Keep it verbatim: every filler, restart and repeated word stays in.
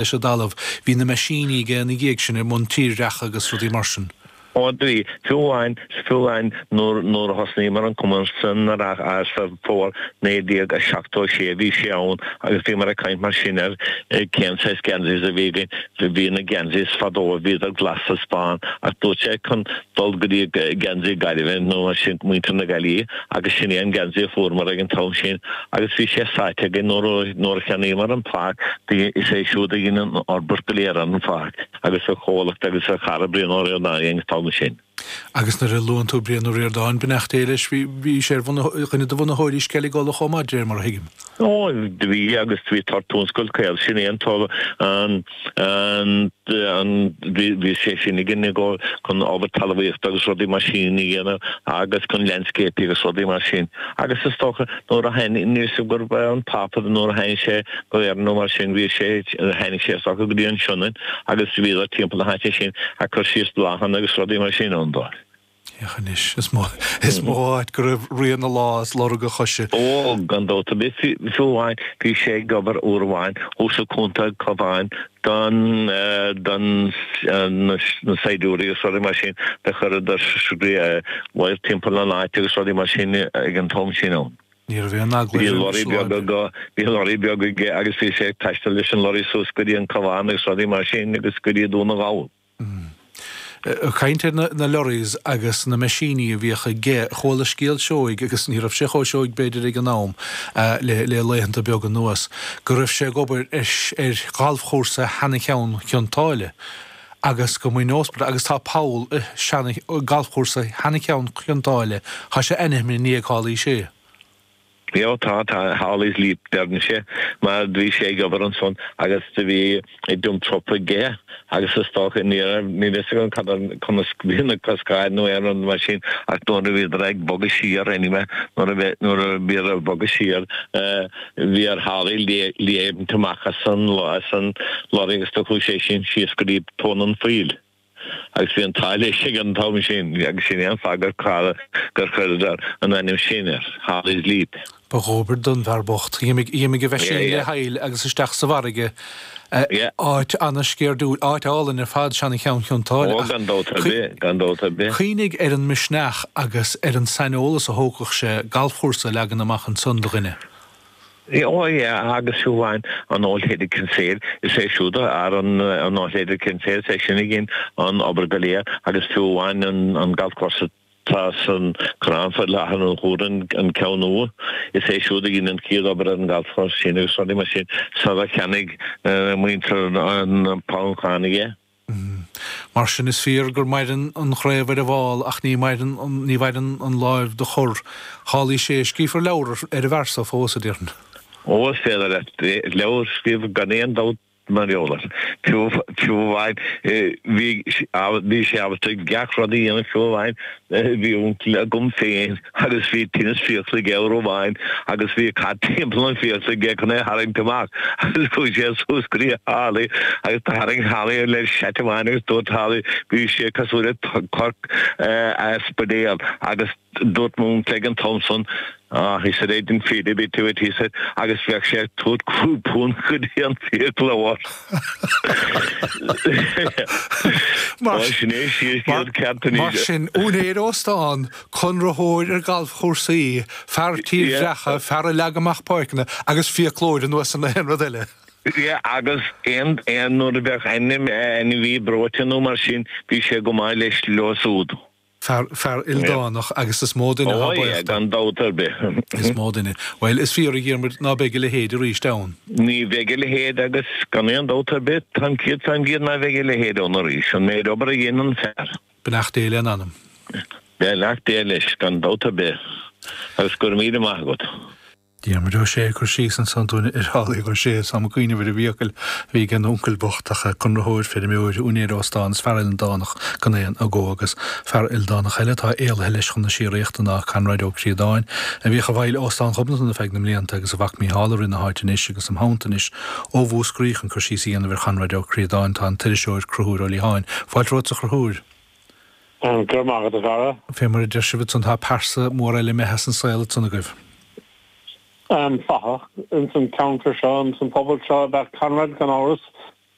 leis an dtalamh, bhí na meaisíní aige ina dhiaidh sin i mbun tírdhreacha agus rudaí mar sin. Ó bhí, fiú amháin, fiú amháin nuair nuair a thosnaíomar an cumann san sa bhfómhar naoi déag a seachtó a sé bhí sé ann agus bhíomar ag caint mar sin ar cén saghas geansays a bhí againn, bhí na geansays fadó bhíodar glas is bán ach dúirt sé chun dul go dtí geansaí Gaillimhe nó mar sin muintir na Gaillimhe agus sin é an geansaí a fuaireamar ag an t-am sin agus bhí sé sáite againn nuair nuair a cheannaíomar an pháirc is é siúd a dhein an fhorbairt go léir ar an pháirc. agus a chomhlacht agus a chara Brian Ó Ríordáin ag an t-am sin. Agus nuair a luann tú Brian Ó Ríordáin, beannacht Dé leis, bhí bhí sé ar dhuine de bhunaitheoirí Sceilg Uladh chomh maith, de réir mar a thuigim. Ó, bhí agus bhí Tortún Scoil Caol, sin é an an an an bhí bhí sé sin ag ag dul chun obair talmhaíochta agus rudaí mar sin a dhéanamh agus chun landscaping agus rudaí mar sin. Agus is dócha nuair a tháinig níl 'fhios agam gurbh é an Pápa nuair a tháinig sé go hÉirinn nó mar sin bhí sé tháinig sé is dócha go dtí an Sionainn agus bhíodar timpeall na háite sin ag cur síos bláthanna agus rudaí mar sin ann dóibh. Féach anois, is mó is mó áit go raibh rian a lámh is lorg a choise. Ó, gan dabht ar bith, fiú amháin bhí sé ag obair uair amháin thuas i gContae Cabháin don don na saighdiúirí agus rudaí mar sin do chuireadar wire timpeall an áit agus rudaí mar sin ag an t-am sin ann. Ní raibh aon eagla Bhí air lorry roimh beag aige, bhí lorry beag aige agus bhí sé ag taisteal leis an lorry suas go dtí an Cabhán agus rudaí mar sin agus go dtí Dún na nGall. Ag caint ar na lorries agus na meaisíní a bhíodh aige, chuala scéal seoigh, agus ní raibh sé chomh seoigh b'fhéidir ag an am, le le laethanta beaga anuas, go raibh sé ag obair ar ar ghalfchúrsa Sheana-Cheann Chionn tSáile agus go mb'in agus tá poll i seana galfchúrsa Sheana-Cheann Chionn tSáile, tá sé ainmnithe i ndiaidh Tholly Shea. Ó tá, tá, Holly's Leap deireann sé, mar do bhí sé ag obair ansan agus do bhí dump truck aige agus is dócha, ní raibh, níl fhios agam cad ar, conas, bhí na coscáin nó aon rud mar sin ach nuair a bhíodar ag bogadh siar anyway, nuair a bhí, nuair a bhíodar ag bogadh siar, bhí ar Holly léimt amach as an, as an lorry agus do chuaigh sé sin síos go dtí tóin an phoill. Agus bhí an t-ádh leis ag an t-am sin, agus sin é an fáth gur gur chuireadar an ainm sin air, Holly's Leap. Ba dhóbair don bhfear bocht. Dh'imigh a mheaisín le haill agus isteach sa bhfarraige, áit an-sceirdiúil, áit álainn ar fad, Seana-Cheann Chionn tSáile. Ó, gan dabht ar bith, gan dabht ar bith. Cuimhnigh ar an misneach agus ar an saineolas a thógfadh sé galfchúrsa a leagan amach ansan do dhuine. Ó yeah, agus fiú amháin an Old Head of Kinsale, is é siúd a fhear an Old Head of Kinsale, is é sin a dhein an obair go léir agus fiú amháin an golf course atá san Corrán faoi láthair an Chúr, an ceann nua, is é siúd a dhein an chéad obair ar an golf course sin agus rudaí mar sin sara cheannaigh muintir an Phoncánaigh é. Mar sin, is fíor gur maireann an chraobh ar an bhfál ach ní mhaireann ní mhaireann an láimh do chur. Tholly Shea, scríofar leabhar ar an bhfear so fós, a déarfainn. Ó, is féidir leat leabhar a scríobh gan aon dabht mar gheall air. Fiú fiú amháin bhí bhí sé ábalta gach rud a dhéanamh fiú amháin bhí uncail agam féin agus bhí tinneas fiacla aige uair amháin agus bhí cat timpeall an fiacla aige chun é a tharraingt amach agus chuaigh sé suas go dtí Holly agus do tharraing Holly air le seit amháin agus dúirt Holly bhí sé cosúil le corc a Spidéal agus dúirt m'uncail ag an t-am san Ah, he said, I didn't feel a bit to it, he said, agus bheadh sé ag tabhairt cúig punt go dtí an fiaclóir. Mar sin é Mar ceart anois. sin, úinéir óstán, conraitheoir ar ghalfchúrsaí, fear tírdhreacha, fear a leag amach páirceanna agus fiaclóir anuas ar aon rud eile. Yeah, agus aon aon nuair a bheadh ainm ainmhí breoite nó mar sin, bhí sé go maith leis leo súd. Fear, fear ildánach agus is mó duine atá Ó yeah, buíoch dó. gan dabht ar bith. Is mó duine. Bhuel, is fíor a Dhiarmuid ná beidh a leithéid arís ann. Ní bheidh a leithéid agus gan aon dabht ar bith, táim céad faoin gcéad ná beidh a leithéid ann arís, an méid obair a dhein an fear. Beannacht Dé lena anam. Beannacht Dé leis, gan dabht ar bith, agus go raibh míle maith agat. Diarmuid Ó Sé ag cur síos ansan dúinn ar Tholly Ó Sé is táim ag cuimhneamh ar an bhfiacail a bhí ag an uncail bocht ach conraitheoir, feirmeoir, úinéir óstán is fear ildánach gan aon agó agus fear ildánach eile atá éalaithe leis chun na síoraíochta ná Conrad Ó Críodáin a bhíodh i bhfeighil Óstán Ghobnatan ar feadh na mblianta agus a mhac Mícheál i rith na háite anois agus im theannta anois ó Mhúscraí chun cur síos a dhéanamh ar Chonrad Ó Críodáin tá an t-iriseoir Conchúr Ó Liatháin. Fáilte romhat a Chonchúir. Go raibh maith agat a Dhara. Fé mar a deir sibh ansan tá pearsa mór eile imithe as an saol ansan agaibh. Fathach ins an ceantar seo, ins an phobal seo ab ea Conrad gan amhras.